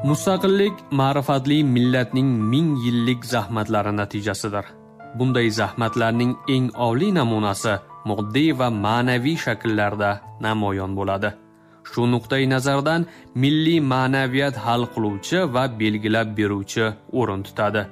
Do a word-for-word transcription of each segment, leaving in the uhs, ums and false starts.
Mustaqillik ma'rifatli millatning ming yillik zahmatlari natijasidir. Bunday zahmatlarning eng oliy namunasi moddiy va ma'naviy shakllarda namoyon bo'ladi. Shu nuqtai nazardan milliy ma'naviyat hal qiluvchi va belgilab beruvchi o'rin tutadi.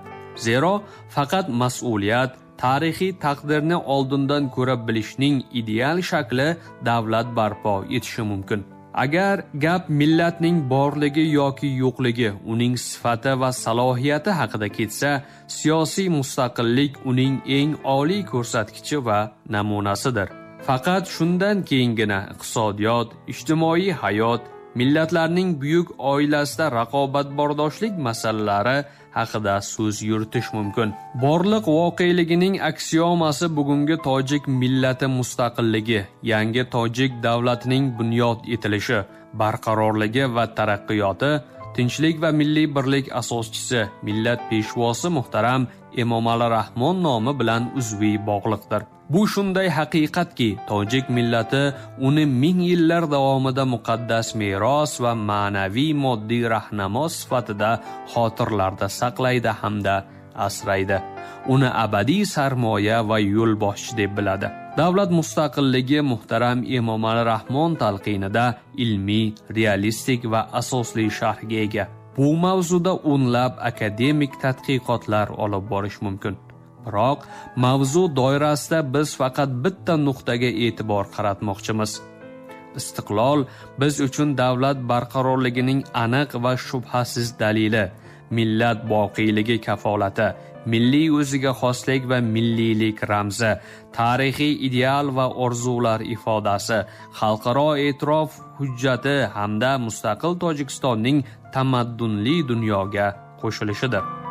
Zero faqat mas'uliyat, tarixiy taqdirni oldindan ko'ra bilishning ideal shakli davlat barpo etishi mumkin. Agar gap millatning borligi yoki yo'qligi, uning sifati va salohiyati haqida ketsa, siyosiy mustaqillik uning eng oliy ko'rsatkichi va namunasidir. Faqat shundan keyingina iqtisodiyot, ijtimoiy hayot, millatlarning buyuk oilasida raqobatbardoshlik masalalari haqida so'z yuritish mumkin. Borliq voqeligining aksiomasi bugungi tojik millati mustaqilligi, yangi tojik davlatining bunyod etilishi, barqarorligi va taraqqiyoti, tinchlik va milliy birlik asoschisi, millat peshvosi muhtaram Emomali Rahmon nomi bilan uzviy bog'liqdir. Bu shunday haqiqatki, tojik millati uni ming yillar davomida muqaddas meros va ma'naviy moddiy rahnamo sifatida xotirlarda saqlaydi hamda asraydi. Uni abadiy sarmoya va yo'lboshchi deb biladi. Davlat mustaqilligi muhtaram Emomali Rahmon talqinida ilmiy, realistik va asosli sharhga ega. Bu mavzuda o'nlab akademik tadqiqotlar olib borish mumkin. Biroq mavzu doirasida biz faqat bitta nuqtaga e'tibor qaratmoqchimiz. Istiqlol biz uchun davlat barqarorligining aniq va shubhasiz dalili, millat boqiyligi kafolati, milliy o'ziga xoslik va milliylik ramzi, tarixiy ideal va orzular ifodasi, xalqaro e'tirof hujjati hamda mustaqil Tojikistonning tamaddunli dunyoga qo'shilishidir.